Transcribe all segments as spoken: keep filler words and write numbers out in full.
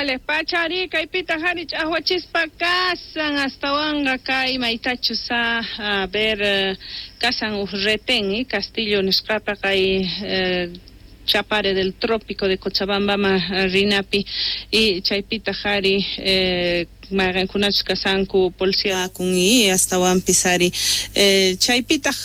Vale, pachari kaypita hari ch'aqwachispa kasan astawanqa kay maytachus a, a ver eh, kasan uj retén eh, Castillo nisqapi kay eh, Chapare del Trópico de Cochabamba rinapi y chaypita hari eh, mayqinkunachus kasanku policía kun y astawanpis ari eh, chaypitaq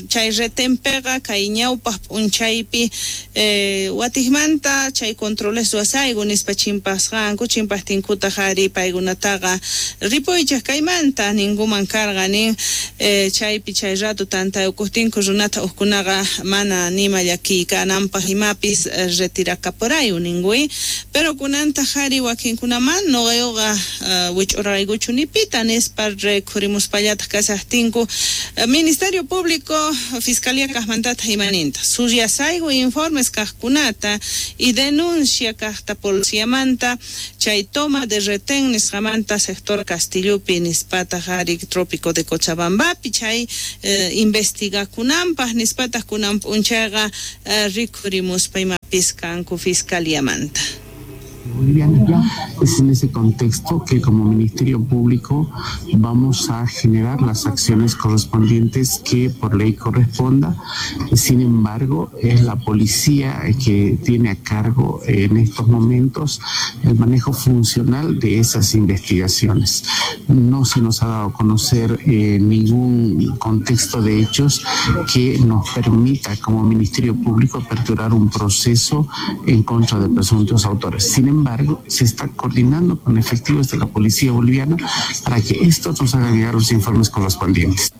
chay retenpiqa kay ñawpaq p'unchaypi eh, watiqmanta chay controles ruwasayku nispa chimpasqanku chimpaqtinkutaq ari paykunataqa ripuychik kaymanta ninkuman karqa nin eh, chaypi chay rato tantayukuqtinku runata hukkunaqa mana nima llakiy kananpaq imapis retirakaporayu ninkuy pero kunantaq ari wakinkunaman nuqayuqa Uh, wich'uraraykuchu nipita nispa rikhurimuspallataq kashaqtinku uh, Ministerio Público Fiscalía kaqmantataq imaninta suyasayku informes kaqkunata y denuncia kaqta policiamanta chay toma de retén nisqamanta sector Castillopi nispataq ari Trópico de Cochabambapi chay uh, investigakunanpaq nispataq kunan p'unchayqa uh, rikhurimuspa imapis kanku fiscaliamanta. Boliviana. Es en ese contexto que como Ministerio Público vamos a generar las acciones correspondientes que por ley corresponda. Sin embargo, es la policía que tiene a cargo en estos momentos el manejo funcional de esas investigaciones. No se nos ha dado a conocer eh, ningún contexto de hechos que nos permita como Ministerio Público aperturar un proceso en contra de presuntos autores. Sin embargo, se está coordinando con efectivos de la Policía Boliviana para que estos nos hagan llegar los informes correspondientes.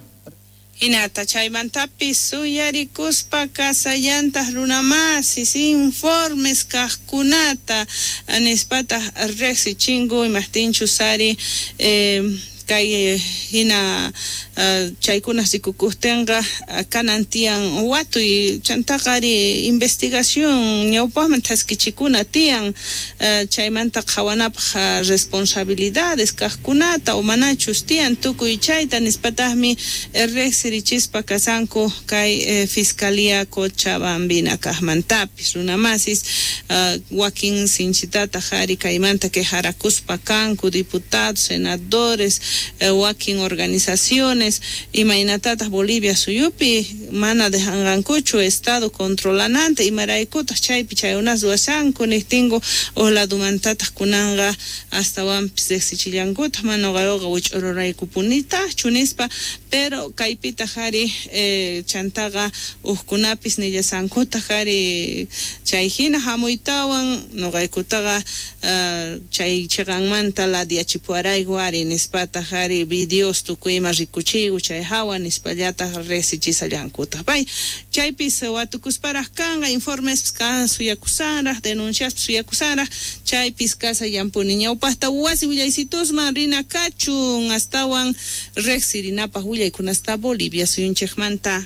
Hinata chaymantapis suyarikuspa kasallantaq runamasis informes kaqkunata nispataq riqsichinku imaqtinchus ari eh, kay hina uh, chaykuna rikukuqtinqa kanan tiyan watuy chantaqa ari investigación ñawpaqman thaskichikuna tiyan uh, chaymanta qhawanapaq uh, responsabilidades kaqkunata o manachus tiyan tukuy chayta nispataqmi riqsirichispa kasanku kay eh, Fiscalía Cochabambina kaqmantapis runamasis uh, wakin sinchitataq ari kaymanta quejarakuspa kanku diputados, senadores, eh, wakin organizaciones imaynatataq Bolivia suyupi mana dejanqankuchu estado controlananta imaraykutaq chaypi chayunas ruwashanku niqtinku uj ladumantataq kunanqa astawanpis riqsichillankutaq mana nuqayuqa wich'ururaykupunitaqchu nispa pero kaypitaq ari eh, chantaqa hukkunapis nillasankutaq ari chay hina hamuytawan nuqaykutaqa uh, chay chiqanmanta ladiachipuwarayku ari nispataq ari videos tukuy ima rikuchiyku chay hawa nispallataq riqsichisallankutaq pay chaypis watukusparaq kanqa informes kan suyakusanraq denuncias suyakusanraq chaypis kasallampuni ñawpaqta wasi willaysitusman rina kachun astawan riqsirinapaq willaykunasta Bolivia suyunchikmanta.